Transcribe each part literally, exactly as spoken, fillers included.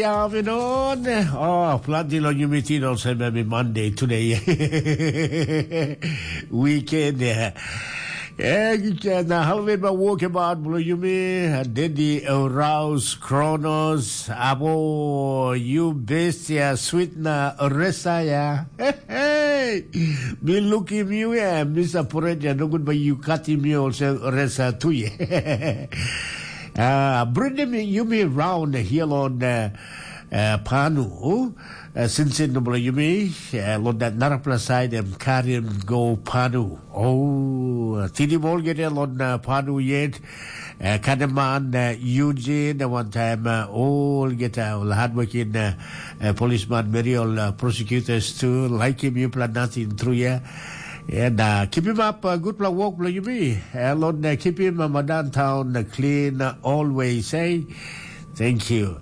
Afternoon. Oh, planti long yumi tin olsem em i Monday today. Weekend, yeah. Eh, na halvet ba walkabout bilong yumi, Dedi Raus Kronos, abo, you bestia, sweet na resa ya. Hey, mi lukim yu ya, mi saporet ya, nogut ba yu katim mi olsem resa tu ya. Uh, bringim yumi round here on uh, uh, Panu. Uh, sinsin bilong yumi, uh, long that narapela side, em karim go Panu. Oh, tidim olgeta long uh, Panu yet. Uh, Kaneman, uh, Eugene, uh, one time, uh, olgeta, ol hardworking uh, uh, policeman, many ol uh, prosecutors too, like him, you plan nothing through here. And uh, keep him up, uh, good plan work, bilong yumi. Uh, Lord, uh, keep him, uh, downtown uh, clean uh, always, eh? Thank you.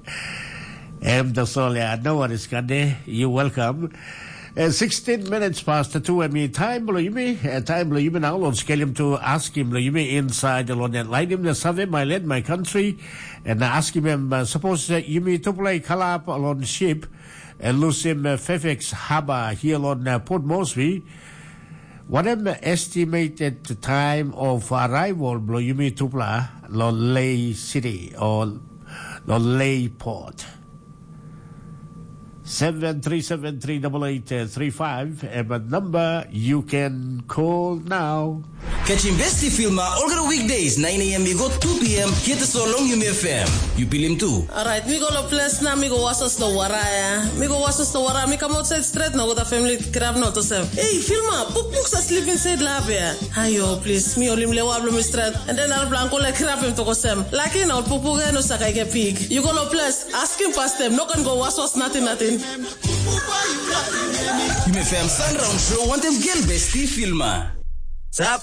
Em tasol ya, no worries, kande. You welcome. Uh, sixteen minutes past the two, em i time bilong yumi, uh, time bilong yumi now, Lord, skelim to ask him, bilong yumi inside, Lord, and light him, the save, my land, my country, and ask him, uh, suppose uh, yumi to play kalap along ship, uh, lusim uh, Fairfax Harbour here on uh, Port Moresby. What am estimated time of arrival bilong yumi tupela lo Lae City or lo Lae Port? Seven three seven three double eight three five, and a number you can call now. Catching Besti Filma olgeta weekdays nine a m i go two p m, get us along Yumi F M. You pilim too. Alright, mi go lo ples na mi go wasos lo wara ya. Mi go wasos lo wara, mi kam outside straight na go da family kirap na tosem. Hey, Filma, pukpuk sa sleep inside lab ya. Ayo, please, mi olim lewa blo mi straight. And then arapela angkol ya kirap im tokosem. Laki na ol pukpuk ya no sa kaike pik. You go lo ples, askim pastem, no kan go waswas natin natin. Yumi F M Sunround Show wantem gel Besti Filma. Tap